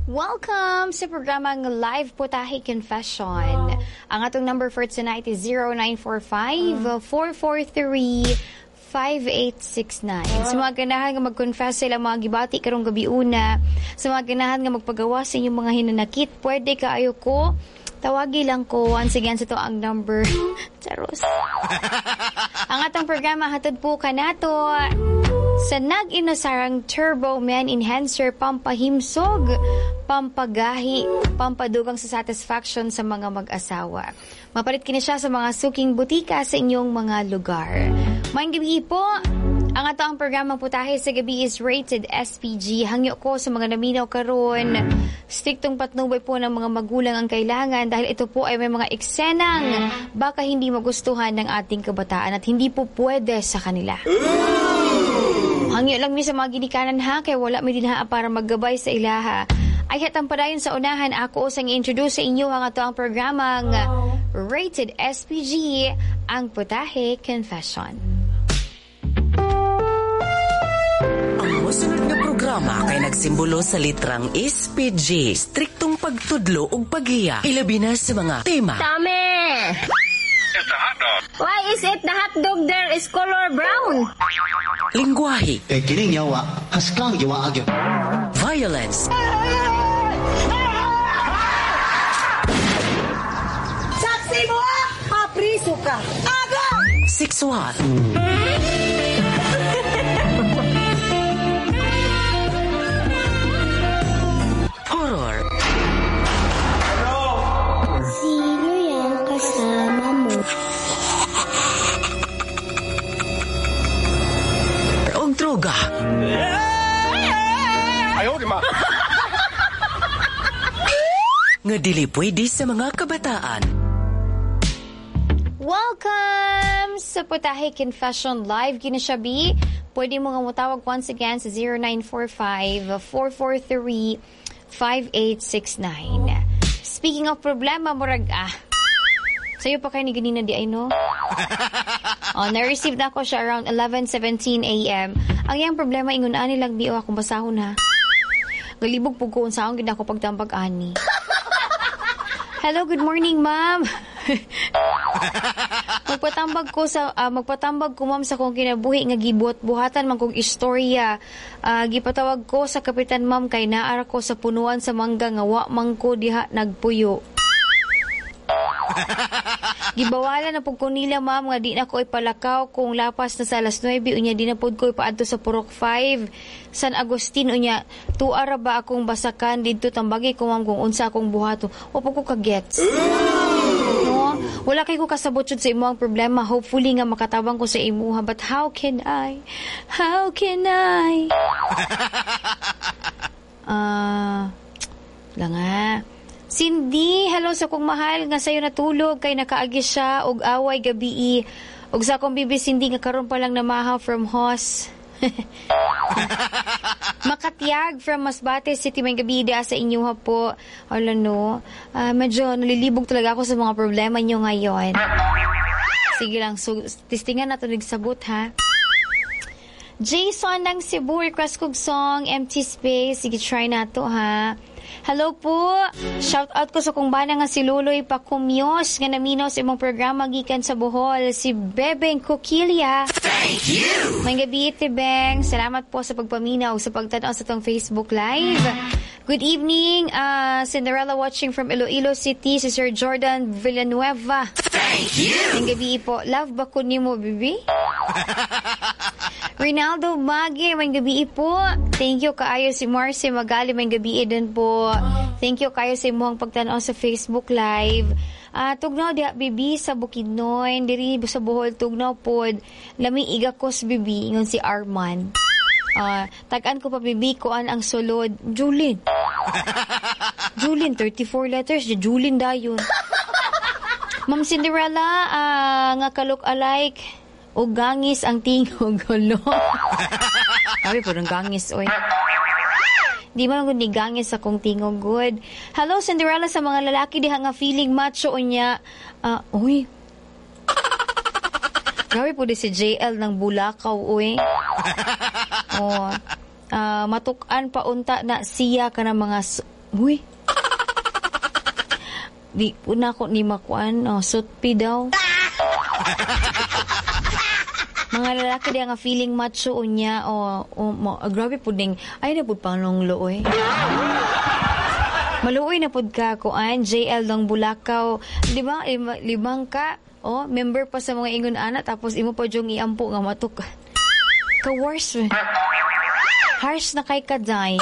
Welcome sa programang Live Putahe Confession. Ang atong number for tonight is 0945-443-5869. Sa mga ganahan nga mag-confess sa ilang mga gibati karong gabi una, sa mga ganahan nga magpagawa sa inyong mga hinanakit, pwede kaayo ko. Tawagi lang ko. Once again, sa to ang number. Charos. Ang atong programa hatod po kanato sa nag-inusarang Turbo Man Enhancer, pampahimsog, pampagahi, pampadugang sa satisfaction sa mga mag-asawa. Mapalit kini siya sa mga suking butika sa inyong mga lugar. Maayong gabi po. Ang ato ang programang Putahe sa Gabi is rated SPG. Hangyo ko sa mga naminaw karon. Striktong patnubay po ng mga magulang ang kailangan dahil ito po ay may mga eksenang baka hindi magustuhan ng ating kabataan at hindi po pwede sa kanila. Hangyo lang mi sa mga ginikanan ha, kay wala mi dinha para maggabay sa ilaha. Ay hatang padayon sa unahan, ako usang i-introduce sa inyo ang ato ang programang rated SPG, ang Putahe Confession. Ang mosunod nga programa kay nagsimbolo sa litrang SPG, striktong pagtudlo ug paghiya, ilabi na sa mga tema. Tame! Why is it the hot dog there is color brown? Lingwahe. Eh, kining yawa, haskang yawa agyo. Violence. Saksi mo ah! Mapriso ka! Aga! Sexual. Horror. Sino yan kasama mo? Og droga. Ayaw, di ma. Nga dili pwede sa mga kabataan. Welcome sa Putahe Confession Live. Kini siya, B. Pwede mo nga motawag once again sa 0945-443-5869. Speaking of problema, murag sa'yo pa kayo ni ganina di ay no? Oh, na-receive na ako siya around 11:17 a.m. Ang iyang problema, ingon ani lang biyo akong basahon ha. Galibog po ko unsaon gid ako pagtambag ani. Hello, good morning, ma'am. Magpatambag ko ma'am sa kong kinabuhi nga gibuhat-buhatan man kong istorya. Gipatawag ko sa kapitan ma'am kay naara ko sa punuan sa mangga nga wa man ko diha nagpuyo. Gibawalan na pud ko nila ma'am nga di na ko ipalakaw kung lapas na sa alas 9 unya di na pud ko ipaadto sa Purok 5 San Agustin unya tuara ra ba akong basakan didto tambagi ko ma'am kung unsa akong buhaton. Wa pud ko ka-gets. No? Wala kay ko kasabot jud sa imong problema. Hopefully nga makatabang ko sa imuha, but how can I? How can I? Lang nga. Cindy, hello sa kong mahal nga sayo natulog kay nakaagi siya og away gabii. Og sa akong bibi Cindy nga karon pa lang namahaw from Hos. Makatiyag from Masbate City, may gabi da sa inyo ha po. Wala no. Medyo nalilibog talaga ako sa mga problema nyo ngayon. Sige lang, so, tistingan na ito nagsabot ha. Jason ng Cebu, request kog song, Empty Space. Sige, try na to ha. Hello po. Shout out ko sa kong bana nga si Luloy Pakumyos nga naminaw sa imong programa gikan sa Bohol, si Bebeng Coquilia. Thank you. May gabi, Tibeng. Salamat po sa pagpaminaw sa pagtan-aw sa tong Facebook Live. Good evening, Cinderella watching from Iloilo City, si Sir Jordan Villanueva. Thank you. May gabi po. Love ba ko nimo, bibi? Rinaldo Mage, may gabi po. Thank you kaayo si Marcy Magali, may gabi din po. Thank you kaayo sa imong pagtan-aw sa Facebook Live. Tugnaw diha bibi sa Bukidnon, diri sa Bohol tugnaw pod. Lami igakos bibi ingon si Arman. Tag-an ko pa bibi kuan ang sulod. Julin. Julin 34 letters, Julin dayon. Ma'am Cinderella, nga ka-look alike o gangis ang tingog gulo. Sabi po ng gangis, oy. Di man gud ni gangis akong tingog good. Hello Cinderella sa mga lalaki diha nga feeling macho unya. Uy. Grabe po di si JL ng Bulakaw, uy. Oh. Matuk-an pa unta na siya kana mga Uy. Di po na ako ni makuan, oh, sutpi daw. Mga lalaki di nga feeling macho unya o grabe pud ning ay na pud panong looy. Maluoy na pud ka kuan JL ng Bulakaw, di ba? Limang ka, oh, member pa sa mga ingon ana tapos imo pa jung iampo nga matuk. Ka worse. Harsh na kay kaday.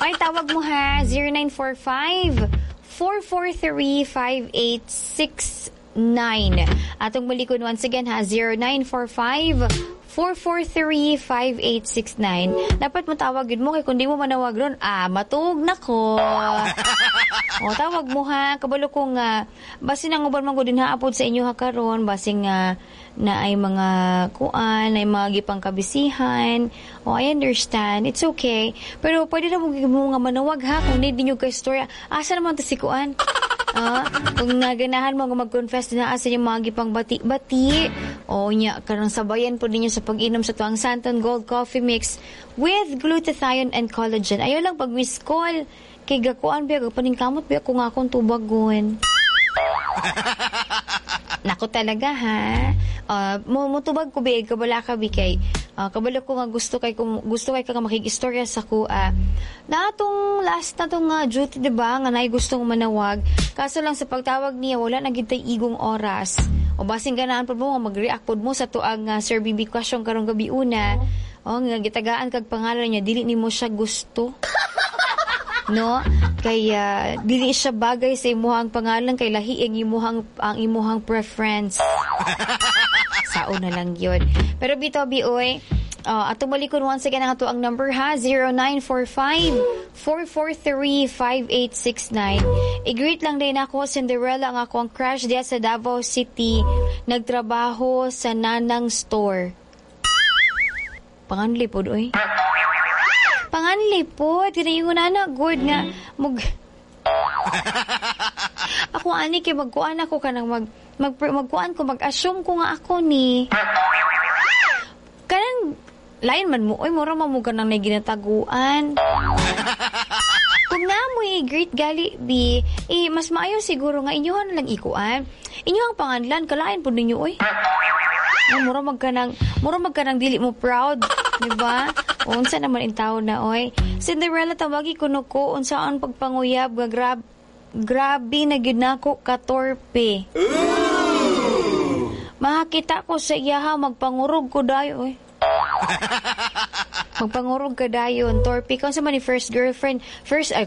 Ay, tawag mo ha, 0945 443 5869. Atong balikon once again ha, 0945 443 5869. Dapat mo tawag yun mo kay kung di mo manawag ron, matuog na ko. O, tawag mo ha, kabalo ko nga basin ang uban man gud din haapod sa inyo ha karon, basin nga na ay mga kuan, ay mga gipang kabisihan. O, I understand. It's okay. Pero pwede na mo nga manawag ha kung need ninyo kay story. Asa naman to si kuan? Kung naganahan mo nga mag-confess na asa yung mga gipang bati-bati. O nya karong sabayan po ninyo sa pag-inom sa tuang Santon Gold Coffee Mix with glutathione and collagen. Ayaw lang pag miss call. Kay gakuan biya, paningkamot biya kung akong tubagon. Nako talaga ha. Mutubag ko biya, kabala ka bi kay kabalo ko nga gusto kay ka nga makig-istorya sa ko. Na atong last na tong duty, diba, nga naay gustong manawag. Kaso lang sa pagtawag niya wala na gid tay igong oras. O basin ganahan pud mo nga mag-react pud mo sa tuang Sir BB question karong gabi una. O nga gitagaan kag pangalan niya, dili nimo siya gusto. No? Kaya dili siya bagay sa imuhang pangalan kay lahi ang imuhang preference. Sao na lang yun. Pero bitaw bi oy, atong balikon once again ang ato ang number ha, 0945 443 5869. I-greet lang din ako Cinderella ang ako ang crush diya sa Davao City, nagtrabaho sa Nanang Store. Panganli pod oy. Panganli po, tinayon na na, good nga, mag... Ako ani, kay magkuan ako ka nang magkuan ko, mag-assume ko nga ako ni. Kanang, lain man mo, oy, mura man mo ka nang naginataguan. Kung na mo great gali, bi, eh, mas maayo siguro nga inyuhan na lang ikuan. Inyuhang panganlan, kalain po ninyo, oy. No, mura magkanang dili mo proud, di ba? Unsa naman in tao na, oy. Cinderella, tawagi kuno ko, unsaan pagpanguyab, nga grabe na gyud nako katorpe. Makakita ko sa iyaha, magpangurog ko dayo, oy. Magpangurog ka dayon, torpe ka. Unsa man ni first girlfriend, first pa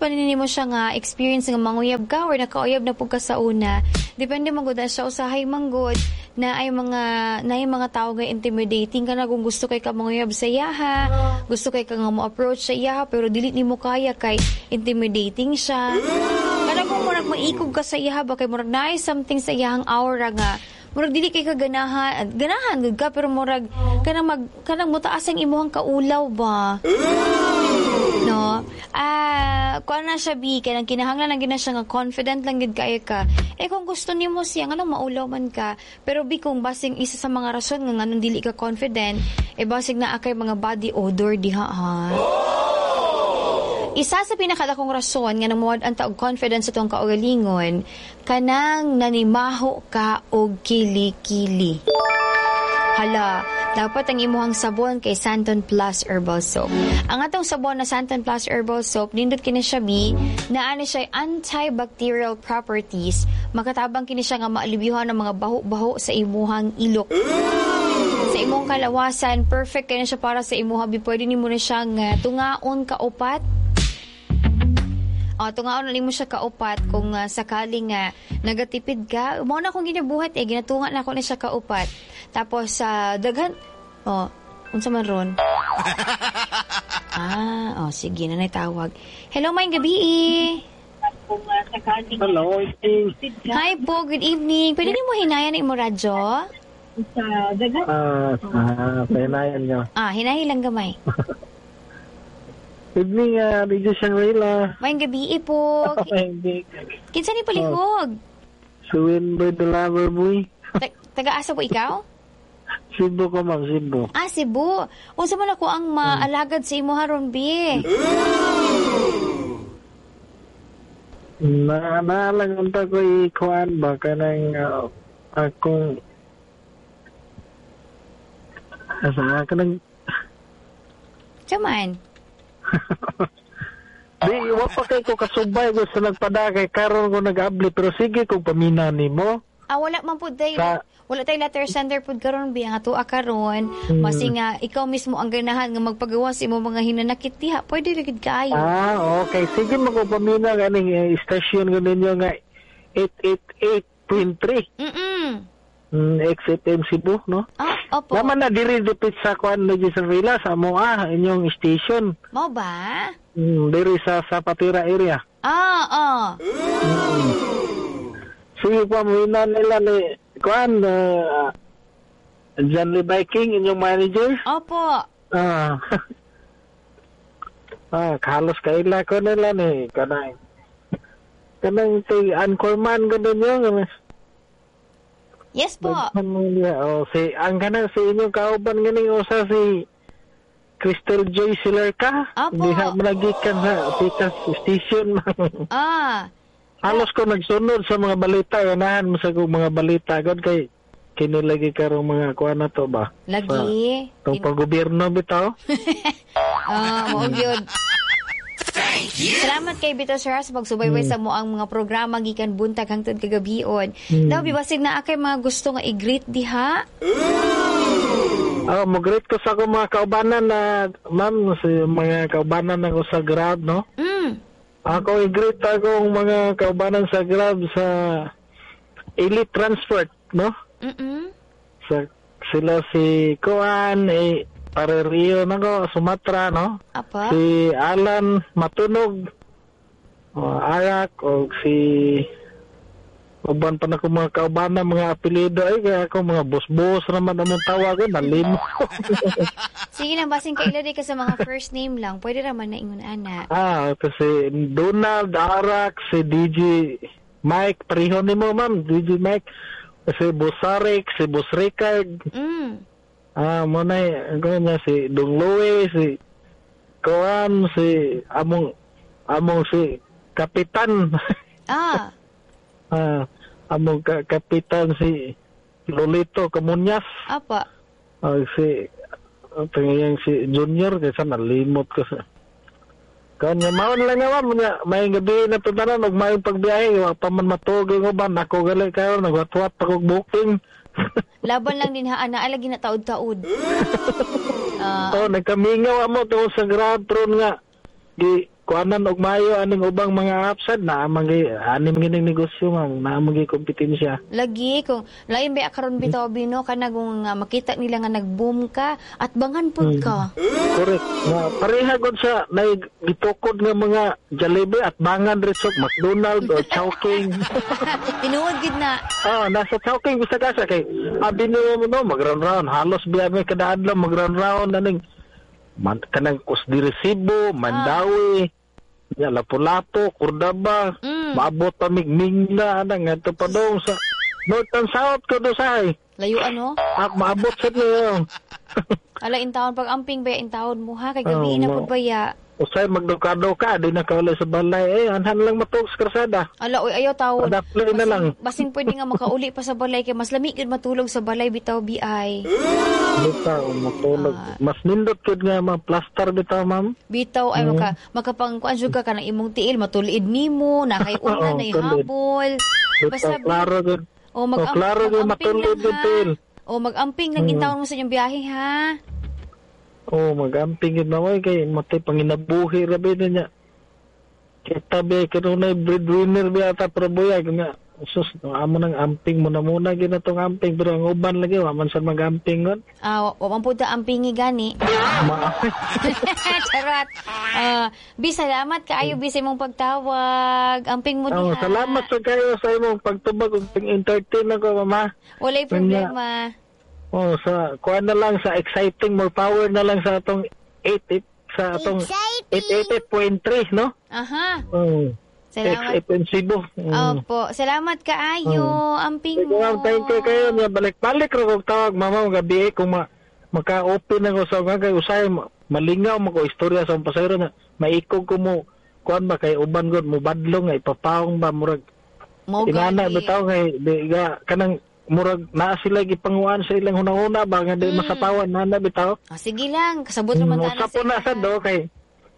nini mo siya nga experience nga manguyab ka or nakauyab na pud ka sa una. Depende man gud na siya usahay man gud na ay mga tao nga intimidating ka na kung gusto kay ka manguyab sa iyaha, gusto kay ka nga mo approach sa iyaha pero dili nimo kaya kay intimidating siya. Kana kung murag maikog ka sa iyaha ba kay murag naay something sa iyahang aura nga murag dili kay ka ganahan, ganahan gud ka pero murag kanang kanang mutaas ang imuhang kaulaw ba. No? Kuan na siya bi kanang kinahanglan lang gid na siya nga confident lang gid kaayo ka. Eh kung gusto nimo siya nganong maulaw man ka, pero bi kung basing isa sa mga rason nga nganong dili ka confident, eh basig naa kay mga body odor diha ha. Isa sa pinakadakong rason nga nang ang taog confidence sa tuong kaugalingon, kanang nanimaho ka og kili-kili. Hala, dapat ang imuhang sabon kay Santon Plus Herbal Soap. Ang atong sabon na Santon Plus Herbal Soap, nindot kini siya bi, naa ni siya antibacterial properties, makatabang kini siya nga maalibyuhan ang mga baho-baho sa imuhang ilok. Sa imong kalawasan, perfect kini siya para sa imuha bi, pwede nimo na siyang tungaon kaupat. Tungaon na mo siya kaupat kung sakaling nagatipid ka. Mao na akong ginabuhat eh, ginatunga na ako na siya kaupat. Tapos daghan unsa man ron? Sige na tawag. Hello, maayong gabi. Hello. Hi po, good evening. Pwede nimo hinayan ang imo radyo? Hinayan niyo. Hinahin lang gamay. Evening, Radio Shangri-La. Maayong gabi po. Kinsa ni palihog? Si Winbird the Lover Boy. Taga-asa po ikaw? Cebu ko, ma'am. Cebu. Cebu. Unsa man ako ang maalagad sa imo haron, bi? Na lang unta ko ikuan ba kanang akong asa kanang Chaman. Di wa pa kay ko kasubay ko sa nagpadakay karon ko nag-abli pero sige kung pamina nimo. Ah, wala man pud day. Wala tay letter sender pud karon biya nga tuwa karon. Masi nga ikaw mismo ang ganahan nga magpagawas imo mga hinanakit diha. Pwede ra gid kaayo. Ah, okay. Sige mo ko pamina ganing station ko ninyo nga 888.3. XFM Cebu, no? Ah, opo. Naman na diri dipit sa kuan na sa Villa sa moa inyong station. Mao ba? Diri sa Zapatera area. Ah, ah. Sige pa mo nila ni kuan John Lee Viking inyong manager. Opo. Ah. Ah, halos kaila ko nila ni kanang kanang ti anchorman ko ninyo. Yes po. Oh, si ang kanang si inyong kauban ganing usa si Crystal Joy Silerca. Opo. Diha man nagikan sa Pitas Station. Ah. Halos ko nagsunod sa mga balita, ganahan mo sa kong mga balita god kay kini lagi karong mga kuan na to ba. Lagi. Tong paggobyerno bitaw. Ah, mao gyud. Salamat kay Bito Sir sa pagsubaybay sa mo ang mga programa gikan buntag hangtod kagabion. Daw bibasig na akay mga gusto nga i-greet diha. Ah, mo-greet ko sa akong mga kaubanan na ma'am, sa mga kaubanan nako sa Grab, no? Ako i-greet akong mga kaubanan sa Grab sa Elite Transport, no? Sa sila si Kuan, eh Pare Rio nako, Sumatra, no? Apa? Si Alan Matunog, o Arak, o si uban pa na ko mga kaubanan, mga apelyido, ay kaya ako mga boss-boss naman among tawag, nalimo. Sige lang, basing kaila di ka sa mga first name lang, pwede raman na ingon ana. Ah, kasi Donald, Arak, si DJ Mike, pareho ni mo ma'am, DJ Mike, si Boss Arik, si Boss Ricard. Ah, mo na niya si Dong Louie, si Kuan, si among si Kapitan. Ah. Ah, among kapitan si Lolito Camuñas. Apa. Ah, si tingin si Junior kaysa nalimot ko sa. Kanya maon lang nga ma'am, may gabi na tutanan og may pagbiyahe, wa pa man matuog ang uban, ako gali kayo nagwatwat pa kog booking. Laban lang din ha, ana lagi na taod-taod. Oh, nagkamingaw amo tungod sa Grab tron nga gi kuanan og mayo aning ubang mga apps na amang anim gining negosyo ma'am, naa man gi kompetensya. Lagi kung lain ba karon bitaw bino kanang makita nila nga nag-boom ka at bangan pud ka. Correct. Na pareha gud sa nay gitukod nga mga Jollibee at bangan resort McDonald o Chowking. Tinuod gid na. Ah, nasa Chowking bisag asa kay abi niyo mo no mag-round round halos biya may kada adlaw mag-round round aning man kanang Kusdi Cebu, Mandawi, ya Lapu-Lapu, Cordaba, maabot pa Migmingna ana ngadto pa dong sa North and South ko do say. Layo ano? Ah, maabot sa niyo. Ala in taon pag amping ba in taon mo ha kay gabi na pud baya. Usay magduka-duka di na kaulay sa balay eh anhan lang matuog sa karsada. Ala oy ayaw tawon. Padapli na lang. Basing pwede nga makauli pa sa balay kay mas lami gyud matulog sa balay bitaw bi. Bitaw matulog. Mas nindot gyud nga ma plaster bitaw ma'am. Bitaw ay makapangkuan jud ka kanang imong tiil matuliid nimo na kay una na habol. Basta klaro gyud. O klaro gyud matulid gyud tiil. O magamping lang intawon mo sa inyong biyahe ha. Oh, magamping yun na kay matay panginabuhi rabi niya. Kita ba kanunay breadwinner ba ata pero buyag nga. Sus, amo nang amping muna muna ginatong amping pero ang uban lagi wa man sa magamping gon. Ah, wa man pud ta ampingi gani. Charot. Bi salamat kaayo bi sa imong pagtawag. Amping mo diha. Oh, salamat sa kayo sa imong pagtubag ug pag-entertain ako, mama. Walay problema. Oh, sa kuan na lang sa exciting more power na lang sa atong 88 sa atong 888.3, no? Aha. Oh. Salamat. XFM Cebu. Opo, salamat kaayo. Amping mo. Thank you kayo niya balik-balik ra kog tawag mama gabi kung maka-open ako sa kay usay malingaw mo ko istorya sa pasayro na maikog ko mo kuan ba kay uban gud mobadlong nga ipapawong ba, murag Mao inana gani. Bitaw nga di ga kanang murag naa sila gipanguan sa ilang hunahuna ba nga di masapawan na bitaw. Oh, sige lang, kasabot naman ta Usa po na sad do kay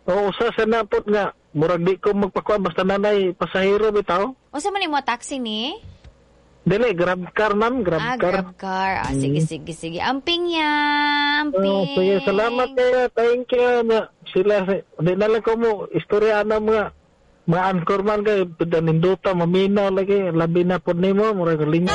o usa sa na pod nga murag di ko magpakuan basta nanay pasahero bitaw. Unsa man imo taxi ni? Dili, Grab car, ma'am, Grab Ah, car. Grab car. Ah, sige, sige, sige. Amping ya, amping. Oh, sige, salamat kayo. Thank you. Na, sila, di na lang ko mo, istorya na mga anchor man kay, ninduta, maminaw lagi, labi na po nimo, murag ling.